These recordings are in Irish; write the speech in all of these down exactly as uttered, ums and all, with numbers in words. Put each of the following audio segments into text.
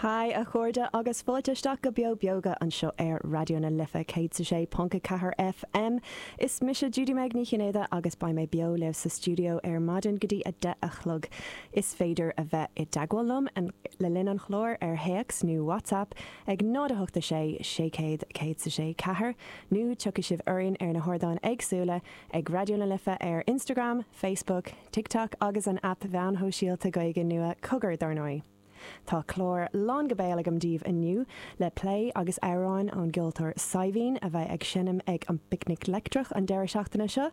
Hi a chairde agus fáilte isteach go Beo Beoga anseo ar Raidió na Life céad a sé ponc a ceathair FM. Is mise Judy Meg Ní Chinnéide agus beidh mé beo libh sa stiúideo ar maidin go dtí a deich a chlog. Is féidir a bheith i dteagmháil liom le linn an chláir ar théacs nó WhatsApp ag náid a hocht a sé sé céad céad a sé ceathair, nó tiocfaidh sibh orainn ar na hardáin éagsúla ag Raidió na Life ar Instagram, Facebook, TikTok agus an aip mheáin shóisialta Gaeilge nua Cogar dar ndóigh. Tá clár lán go béal agam daoibh inniu le plé agus amhráin ón gceoltóir Saidhbhín a bheidh ag seinm ag an bPicnic Leictreach an deireadh seachtaine seo.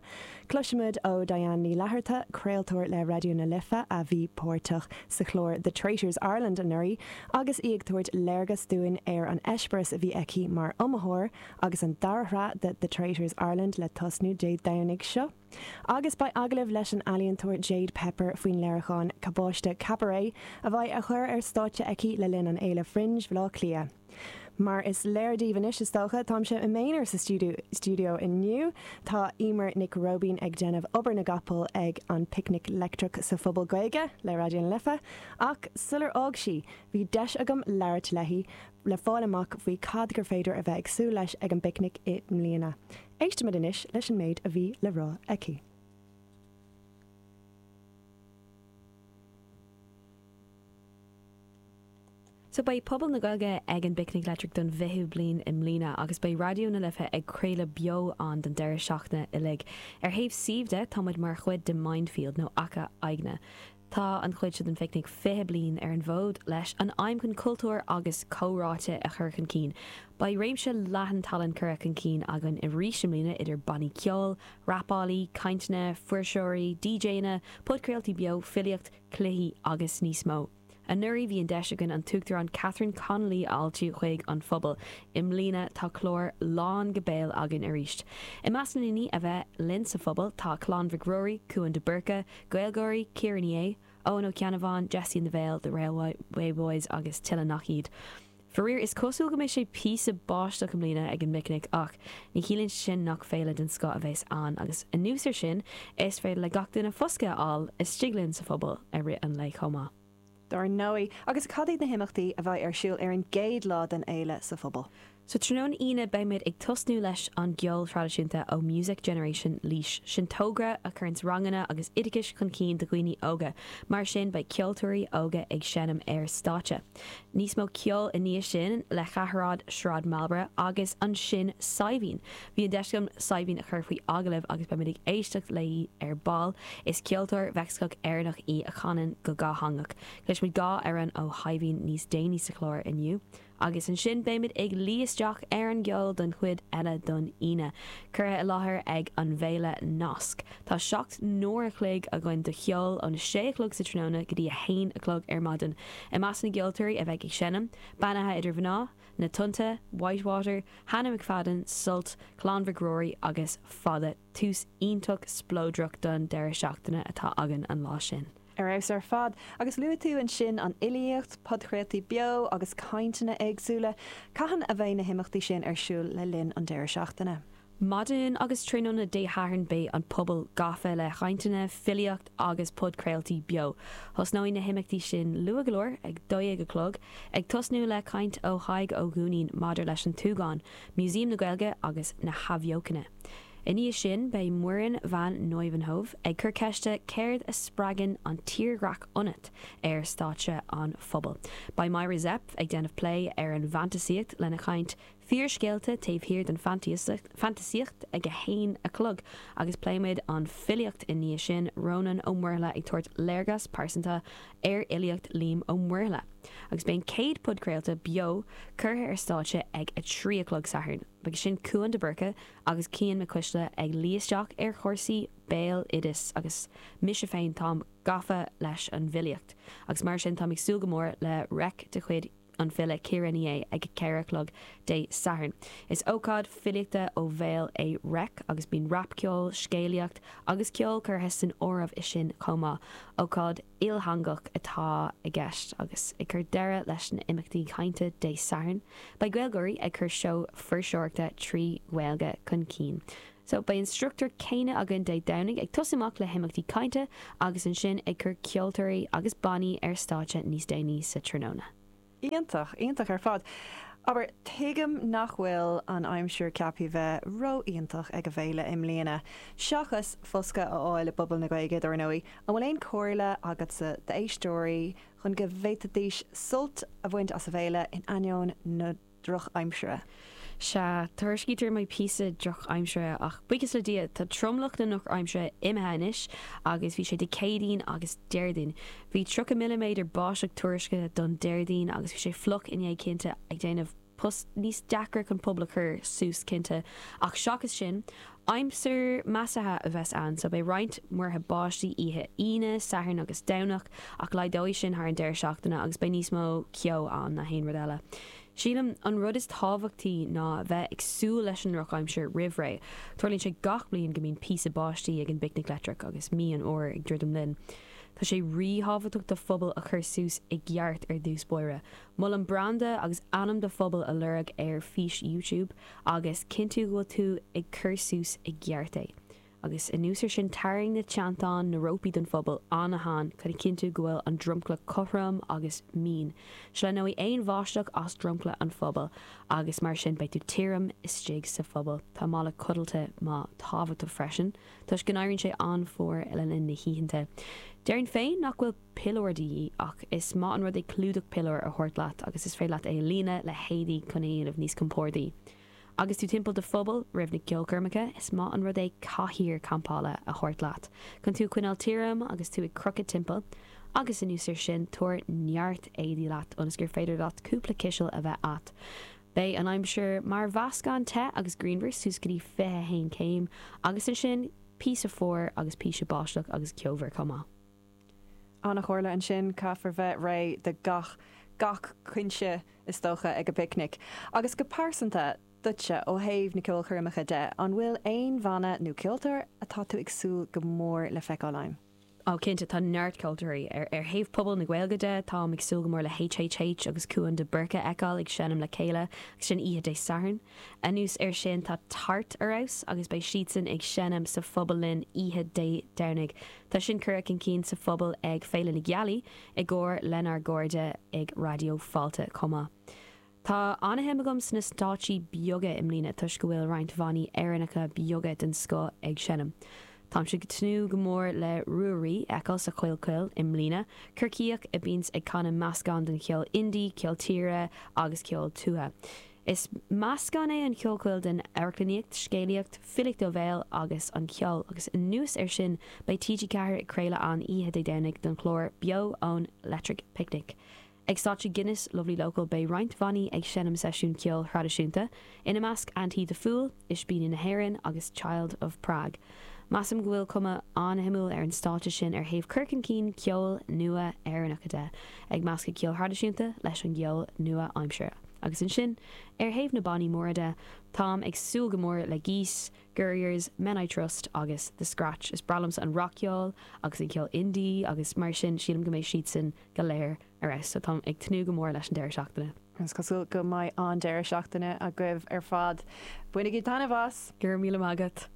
Cloisfimid ó Diane Ní Fhlatharta, craoltóir le Raidió na Life a bhí páirteach sa chlár The Traitors Ireland anuraidh agus í ag tabhairt léargas dúinn ar an eispéireas a bhí aici mar iomaitheoir agus an dara shraith de The Traitors Ireland le tosnú Dé Domhnaigh seo. Agus beidh agallamh leis an ealaíontóir Jade Pepper faoin léiriúchán Cabáiste Cabaret a bheidh á chur ar stáitse aici le linn an Fhéile Fringe Bhaile Átha Cliath. Mar is léir daoibh anois is dócha, táimse i m'aonar sa stiúideo inniu. Tá Emer Nic Róibín ag déanamh obair na gcapall ag an Picnic Leictreach sa Phuball Gaeilge le Raidió na Life, ach sular fhág sí, bhí deis agam labhairt léi le fáil amach faoi cad gur féidir a bheith ag súil leis ag an bPicnic i mbliana. Éistimid anois leis an méid a bhí le rá aici. So beidh Puball na Gaeilge ag an bPicnic Leictreach don bhfichiú bliain i mbliana agus beidh Raidió na Life ag craoladh beo ann don deireadh seachtaine uilig. Ar thaobh suímh de, tá muid mar chuid de Mindfield nó Acca Aigne. Tá an chuid seo den phicnic fiche bliain ar an bhfód leis an aidhm chun cultúr agus comhráite a chur chun cinn. Beidh réimse leathan tallann curtha chun cinn againn arís i mbliana idir bannaí ceoil, rapálaí, cainteanna, fuirseoirí, DJanna, podchraoltaí beo, filíocht, cluichí agus níos mó. Anuraidh bhí an deis againn an tUachtarán Catherine Connolly a fháiltiú chuig an phuball. I mbliana tá clár lán go béal againn arís. I measc na ndaoine a bheidh linn sa phuball tá Clann Mhic Ruairí, Cuan de Búrca, GaelGáirí, Ciara Ní É, Eoin Ó Ceannabháin, Jessie and the Veil, The Railway Boys agus tuilleadh nach iad. Faraor, is cosúil go mbeidh sé píosa báisteach i mbliana ag an bPicnic ach ní chiallaíonn sé sin nach féile den scoth a bheas ann agus anuas air sin is féidir le gach duine foscadh a fháil istigh linn sa phuball i rith an lae chomh maith. Dar ndóigh, agus cad iad na himeachtaí a bheidh ar siúl ar an gcéad lá den fhéile sa phuball? So tráthnóna Aoine beimid ag tosnú leis an gceol traidisiúnta ó Music Generation Laois. Sin togra a chuireanns ranganna agus oideachais chun cinn do dhaoine óga. Mar sin beidh ceoltóirí óga ag seinm ar stáitse. Níos mó ceoil i ndiaidh sin le Ceathairéad Sráid Marlborough agus ansin Saidhbhín. Bhí an deis agam Saidhbhín a chur faoi agallamh agus beimid ag éisteacht léi ar ball. Is ceoltóir Mheicsiceo Éireannach í a chanann go dhátheangach. Cloisfimid dhá amhrán ó Shaidhbhín níos déanaí sa chlár inniu. Agus ansin beimid ag luí isteach ar an gceol don chuid eile don Aoine. Curtha i láthair ag an bhféile Nasc. Tá seacht n-uair a chloig againn de cheol óna sé a chlog sa tráthnóna go dtí a haon a chlog ar maidin. I measc na gceoltóirí a bheidh ag seinm, Beannaithe Idir Mhná, Na Tonnta, Whitewater, Hannah McFadden, Sult, Clann Mhic Ruairí agus Fada. Tús iontach spleodrach don deireadh seachtaine atá againn an lá sin. Ar fheabhas ar fad. Agus luaigh tú ansin an fhilíocht, podchraoltaí beo agus cainteanna éagsúla. Cathain a bheidh na himeachtaí sin ar siúl le linn an deireadh seachtaine? Maidin agus tráthnóna Dé Sathairn beidh an puball gafa le cainteanna, filíocht agus podchraoltaí beo. Tosnóidh na himeachtaí sin luath go leor, ag dó dhéag a chlog, ag tosnú le caint ó Thadhg Ó Duinnín maidir leis an Súgán, Músaem na Gaeilge agus na hAthbheochana. I ndiaidh sin, beidh Muireann van Nieuwenhove ag cur ceiste 'Céard a spreagann an tírdhreach ionat? ar stáitse an phubaill. Beidh Myra Zepf ag déanamh plé ar an bhfantasaíocht lena caint 'Fíorscéalta taobh thiar den Fhantasaíocht' ag a haon a chlog agus pléimid an filíocht i ndiaidh sin, Rónán Ó Muirthile ag tabhairt léargas pearsanta ar fhilíocht Liam Ó Muirthile. Agus beidh an chéad podchraolta beo curtha ar stáitse ag a trí a chlog Satharn. Beidh sin Cuan de Búrca agus Cian Mac Cuisle ag luí isteach ar chúrsaí béaloidis agus mise féin táim gafa leis an bhfilíocht agus mar sin táim ag súil go mór le reic de chuid an file Ciara Ní É ag a ceithre a chlog Dé Sathairn. Is ócáid filíochta ó bhéal é Reic agus bíonn rapcheol, scéalaíocht agus ceol curtha san áireamh i sin chomh maith. Ócáid ilteangach atá i gceist agus ag cur deireadh leis na imeachtaí cainte Dé Sathairn, beidh GaelGáirí ag cur seó fuirseoireachta trí Ghaeilge chun cinn. So beidh an struchtúr céanna againn Dé Domhnaigh, ag tosú amach le himeachtaí cainte agus ansin ag cur ceoltóirí agus bannaí ar stáitse níos déanaí sa tráthnóna. Iontach, iontach ar fad. Aber tuigim nach bhfuil an aimsir ceaptha bheith ró-iontach ag an bhféile i mbliana. Seachas foscadh a fháil i bPuball na Gaeilge dar ndóigh, an bhfuil aon chomhairle agatsa d'éisteoirí chun go bhféadfaidís sult a bhaint as an bhféile in ainneoin na drochaimsire. Sea, tuairiscítear go mbeidh píosa drochaimsire ach buíochas le Dia tá tromlach na drochaimsire imithe anois agus bhí sé Dé Céadaoin agus Déardaoin. Bhí tríocha milliméadar báisteach tuairiscithe don Déardaoin agus bhí sé fliuch inné cinnte ag déanamh post níos deacra chun puball a chur suas cinnte ach seachas sin, aimsir measartha a bheas ann, so beidh roinnt múrtha báistí oíche Aoine, Satharn agus Domhnach ach laghdóidh sin thar an deireadh seachtaine agus beidh níos mó ceo ann ná haon rud eile. Sílim an rud is tábhachtaí ná bheith ag súil leis an drochaimsir roimh ré. Tarlaíonn sé gach bliain go mbíonn píosa báistí ag an bPicnic Leictreach agus mí an fhómhair ag druidim linn. Tá sé ríthábhachtach do phuball a chur suas i gceart ar dtús báire. Molaim branda agus ainm do phubaill a lorg ar fís YouTube agus cinntiú go bhfuil tú ag cur suas i gceart é. Agus anuas air sin tarraing na teanntáin na rópaí don phuball an-teann chun a chinntiú go bhfuil an dromchla cothrom agus mín. Sleamhnóidh aon bháisteach as dromchla an phubaill agus mar sin beidh tú tirim istigh sa phuball. Tá mála codlata maith tábhachtach freisin, toisc go n-éiríonn sé an-fhuar le linn na hoícheanta. Déarfainn féin nach bhfuil piliúr de dhíth ach is maith an rud é clúdach piliúir a thabhairt leat agus is féidir leat é a líonadh le héadaí chun é a dhéanamh níos compordaí. Agus tú timpeall do phuball roimh na ceolchoirmeacha, is maith an rud é cathaoir campála a thabhairt leat, chun tú a choinneáil tirim agus tú ag crochadh timpeall, agus anuas air sin tabhair neart éadaí leat ionas gur féidir leat cúpla ciseal a bheith agat. Beidh an aimsir mar mheascán te agus grianmhar suas go dtí fiche a haon céim agus ansin píosa fuar agus píosa báisteach agus ceomhar chomh maith. An-chomhairle ansin caithfear bheith réidh do gach gach cúinse is dócha ag an bpicnic. Agus go pearsanta duitse ó thaobh na ceolchoirmeacha de, an bhfuil aon bhanna nó ceoltóir atá tú ag súil go mór le feiceáil ann? Ó cinnte tá neart ceoltóirí ar ar thaobh Phuball na Gaeilge de táim ag súil go mór le HHH agus Cuan de Búrca a fheiceáil ag seinm le chéile agus sin oíche Dé Sathairn. Anuas air sin tá Tart ar fheabhas agus beidh siadsan ag seinm sa phuball linn oíche Dé Domhnaigh. Tá sin curtha chun cinn sa phuball ag Féile na Gealaí i gcomhar lenár gcairde ag Raidió Fáilte chomh maith. Tá an-shuim agam sna stáitsí beaga i mbliana toisc go bhfuil roinnt bhannaí Éireannacha beaga den scoth ag seinm. Táimse ag tnúth go mór le Ruairí a fheiceáil sa Choill Choill i mbliana, Corcaíoch a bhíonns ag canadh meascán den cheol indie, ceol tíre agus ceol tuaithe. Is meascán é an Choill Choill den amharclannaíocht, scéalaíocht, filíocht ó bhéal agus an ceol, agus anuas air sin beidh TG Ceathair ag craoladh ann oíche Dé Domhnaigh don chlár Beo ón Electric Picnic. Ag stáitse Guinness Lovely Local beidh roinnt bhannaí ag seinm seisiún ceoil thraidisiúnta, ina measc Anti the Fool, Ispíní na hÉireann agus Child of Prague. Measaim go bhfuil cuma an-shuimiúil ar an stáitse sin ar thaobh cur chun cinn ceol nua Éireannach de, ag meascadh ceol thraidisiúnta leis an gceol nua-aimseartha. Agus ansin, ar thaobh na bannaí móra de, táim ag súil go mór le Geese, Gurriers, Men I Trust agus The Scratch. Is breá liomsa an rac-cheol agus an ceol indie agus mar sin sílim go mbeidh siadsan go léir ar fheabhas, so táim ag tnúth go mór leis an deireadh seachtaine. Is cosúil go mbeidh an deireadh seachtaine agaibh ar fad. Bainigí taitneamh as! Go raibh míle maith agat.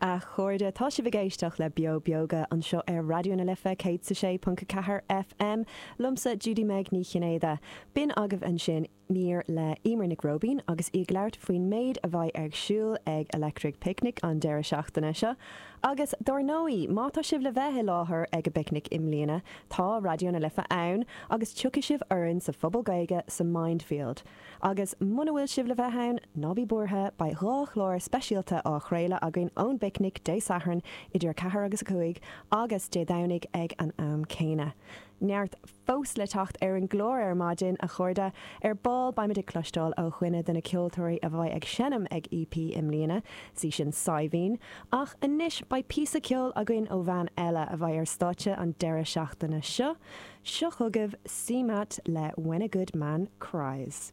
A chairde, tá sibh ag éisteacht le Beo Beoga anseo ar Raidió na Life céad is a sé ponc a ceathair FM, liomsa Judy Meg Ní Chinnéide. B'in agaibh ansin mír le Emer Nic Róibín agus í ag labhairt faoin méid a bheidh ar siúl ag Electric Picnic an deireadh seachtaine seo. Agus dár ndóigh, má tá sibh le bheith i láthair ag an bpicnic i mbliana, tá Raidió na Life ann agus tiocfaidh sibh orainn sa Phuball Gaeilge sa Mindfield. Agus muna bhfuil sibh le bheith ann, ná bí buartha, beidh dhá chlár speisialta á chraoladh againn ón bpicnic Dé Sathairn idir a ceathair agus a cúig agus Dé Domhnaigh ag an am céanna. Neart fós le teacht ar an gclár ar maidin, a chairde, ar ball beimid ag cloisteáil ó dhuine de na ceoltóirí a bheidh ag seinm ag EP i mbliana, sí sin Saidhbhín, ach anois beidh píosa ceoil againn ó bhean eile a bheidh ar stáitse an deireadh seachtaine seo, seo chugaibh CMAT le When a Good Man Cries.